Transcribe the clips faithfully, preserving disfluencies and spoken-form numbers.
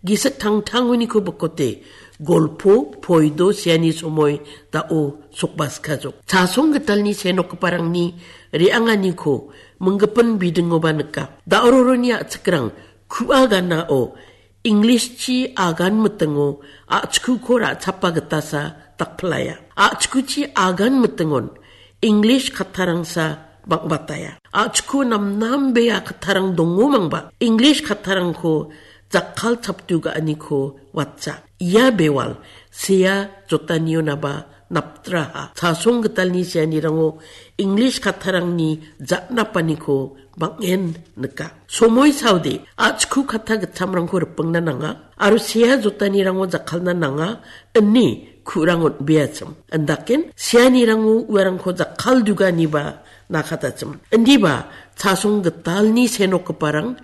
Gisik tangtangoniko bikote, golpo, poido, seani somoi, da·o sokbaskajok. Chasong gitalni senokgiparangni re·anganiko minggipin bidingoba nika. Da·ororoni a·chikrang ku·a ganao Englishchi agan mitingo a·chikuko ra·chapa gitasa dakpilaya. A·chikuchi agan mitingon English kattarangsa bang·bataya. A·chiko namnambea kattarang dongomangba English kattarangko jakkal chaptu ga·aniko watja. Ia bewal sea jotanionaba naptraha. Chasong gitalni seanirango English kattarangni ja·napaniko bang·en nika. Somoi saode, a·chku katta gittamrangko ripingna nanga, aro sea jotanirango jakkalna nanga, ine ku·rang on·beachim. Indaken, seanirango uarangko jakkalduganiba nakatachim. Indiba, chasong gitalni senokgiparang,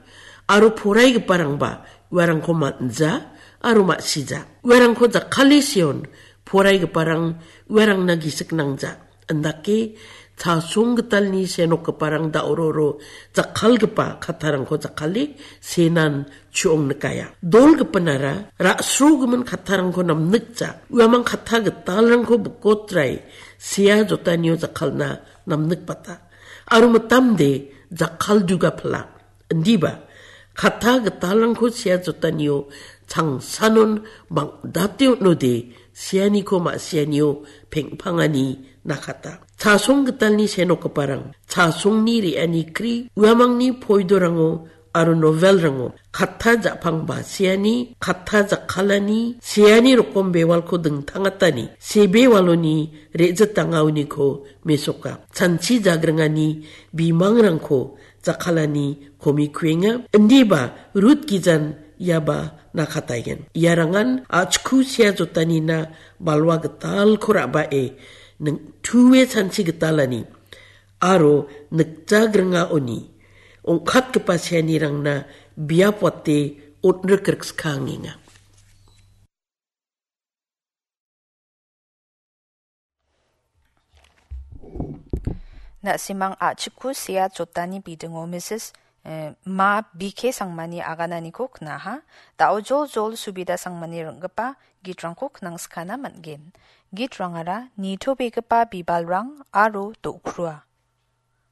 aro poraigiparangba uarangko man·ja, aro ma·sija. Uarangko jakkale seon, poraigiparang uarangna gisik nangja. Indake chasong gitalni senokgiparang da·ororo jakkalgipa kattarangko jakkale senan chu·ong nikaya. Dolgipinara ra·srogimin kattarangko namnikja. Uamang katta gitalrangko bikotrai sea jotanio jakkalna namnikbata. Aro mitamde jakkalduga pila. Indiba, katta gitalrangko sea jotanio changsanon bang·date on·ode, seaniko ma·sianio peng·pangani nakata. Chasong gitalni senokgiparang, chasongni re·ani kri, uamangni poidorango aro novelrango, katta ja·pangba seani, katta jakkalani, seani rokom bewalko dingtangatani, sebewaloni re·jitangaoniko mesoka. Chanchi jagringani bimangrangko jakkalani komi kuenga. Indiba Rut gijan iaba nakataigen. Iarangan a·chku sea jotanina balwa gitalko ra·bae ning-, tue chanchi gitalani aro nikjagringaoni ong·katgipa seanirangna biap wate on·rik rikska angenga. Na·simang a·chikku sea jotani bidingo Misis, eh, Ma B K Sangmani agananiko knaha. Da·o jol jol subida Sangmani ring·gipa gitrangko knangskana man·gen. Gitrangara nitobegipa bibalrang aro do·krua.